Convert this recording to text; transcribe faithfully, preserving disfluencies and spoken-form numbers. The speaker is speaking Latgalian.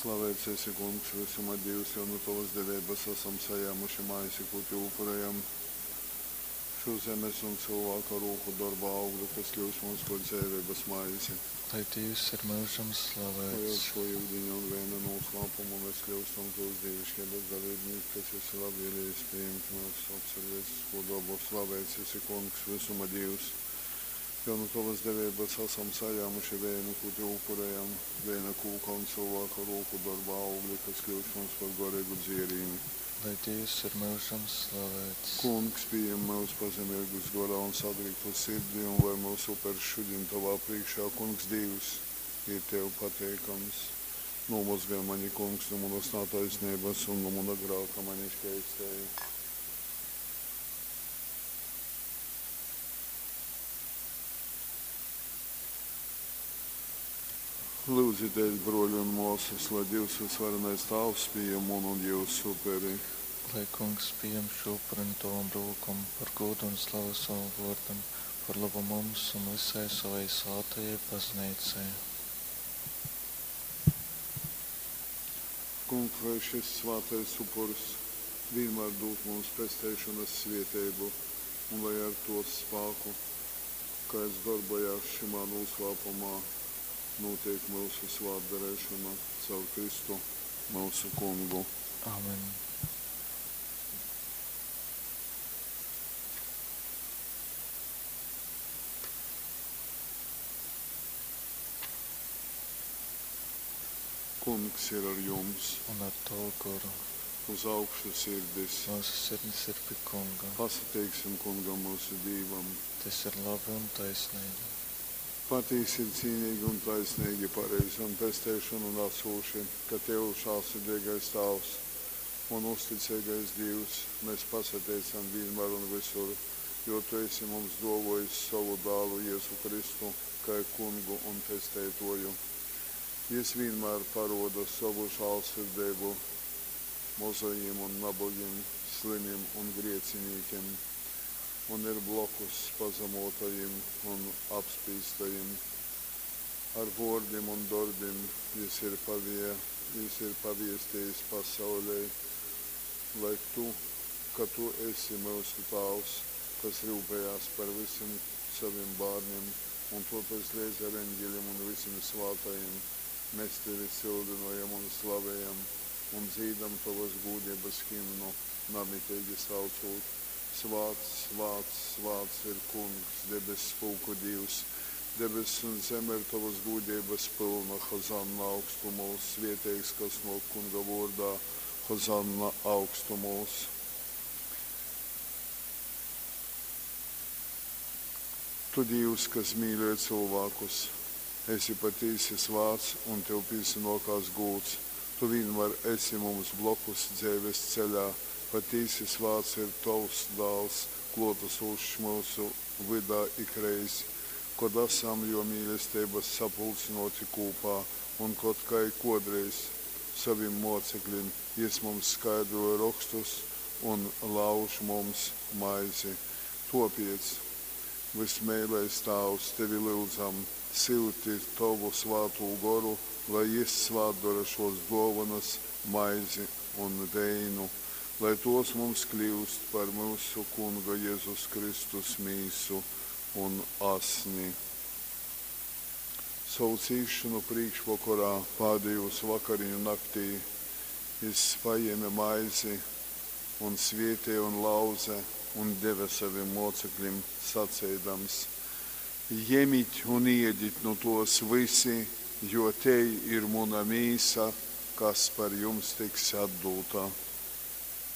Slaveits esi, Kungs, vysuma Dīvs, jo nu tovas deveibas asam sajāmuši maizi, kū tev upurejam. Šo zemes un cylvāka rūku dorba augli, kas kļūst mums par dzeiveibas maizi. Lai Dīvs ir myužam Lai ar slavēts. šo yudiņa un veina noslēpumu mēs kļūstam tovas dievišķības dalībnieki, kas esi labvēlīgs pieņemt mūsu cilvēcisko dabu. Slaveits esi, Kungs, visuma Dievs, jo nu tovas devības esam sajāmuši veinu, ko tev upurējam, veina kūka un cilvēka rūku darba augli, kas kļūst mums par garīgu dzierīni. Lai Dievs ir myužam slavēts. Kungs, pieņem mūs pazemīgus gorā un sadriktu sirdī, un lai mūsu upers šodien tavā priekšā, Kungs Dievs, ir tev pateikams. Nomazgaj mani, Kungs, no manas netaisnības un no mana grāka mani šķeistēji. Lūdzieties, broļi un māsas, lai Dievs visvarenais Tāvs pieņem manu un jūsu uperi. Lai Kungs pieņem šo upuri no tavam rūkam par godu un slavu savam vārdam, par labu mums un visai savai svētajai baznīcai. Kungs, lai šis svētais upurs vienmēr dod mums pesteišanas svieteibu, un lai ar to spēku, kāds darbojās šimā noslēpumā, notiek mūsu svētdarīšana caur Kristu, mūsu Kungu. Amen. Kungs ir ar jums, Un ar tavu goru. uz augšu sirdis. Mūsu sirdis ir pie Kunga. Pasateiksim Kungam mūsu Dievam. Tas ir labi un taisnīgi. Patiesi ir cīnīgi un taisnīgi, pareizi un pesteišanu nesoši, ka Tev žēlsirdīgais Tēvs un uzticīgais Dievs mēs pasateicam vienmēr un visur, jo Tu esi mums dāvājis savu dēlu Jēzu Kristu, kā kungu un pesteitoju. Jis vienmēr paroda savu žēlsirdību mozajiem un nabagiem, slimiem un grēciniekiem, un ir blokus pazemotajiem un apspīstajiem. Ar vārdiem un darbiem jis ir, pavie, jis ir paviestījis pasaulē, lai tu, ka tu esi mūsu Tēvs, kas rūpējās par visiem saviem bērniem, un tāpēc līdz ar eņģeļiem un visiem svētajiem mēs tevi sildinojam un slavējam un dzīdam tavas gūdības himnu, namitīgi saucot. Svāts, svāts, svāts ir Kungs, debes pulku Dievs. Debes un zeme ir tavas gūdības pilna, Hozanna augstumos, svieteigs, kas no Kunga vārdā, Hozanna augstumos. Tu Dievs, kas mīļoja cilvēkus, esi patiesi svāts un tev piesanokās gūts. Tu vienmēr esi mums blokus dzīves ceļā. Patiesi svāts ir tavs dēls, klotasošs mūsu vidā ikreiz, kad esam jo mīlestības sapulcinoti kopā un kad kā kodreiz saviem mocekļiem jis mums skaidroja rakstus un lauž mums maizi. Topiec, vismīlais Tēvs, tevi lūdzam, silti tavu svātū goru, lai jis svātdara šos dovanas, maizi un veinu, lai tos mums kļūst par mūsu Kunga Jēzus Kristus mīsu un asni. Savu cīšanu priekšvakarā, pēdējos vakariņu naktī, jis paņēma maizi un svētīja un lauze un deva saviem mocekļiem, sacīdams: Ņemiet un ēdiet no tos visi, jo te ir mana mīsa, kas par jums tiks atdota.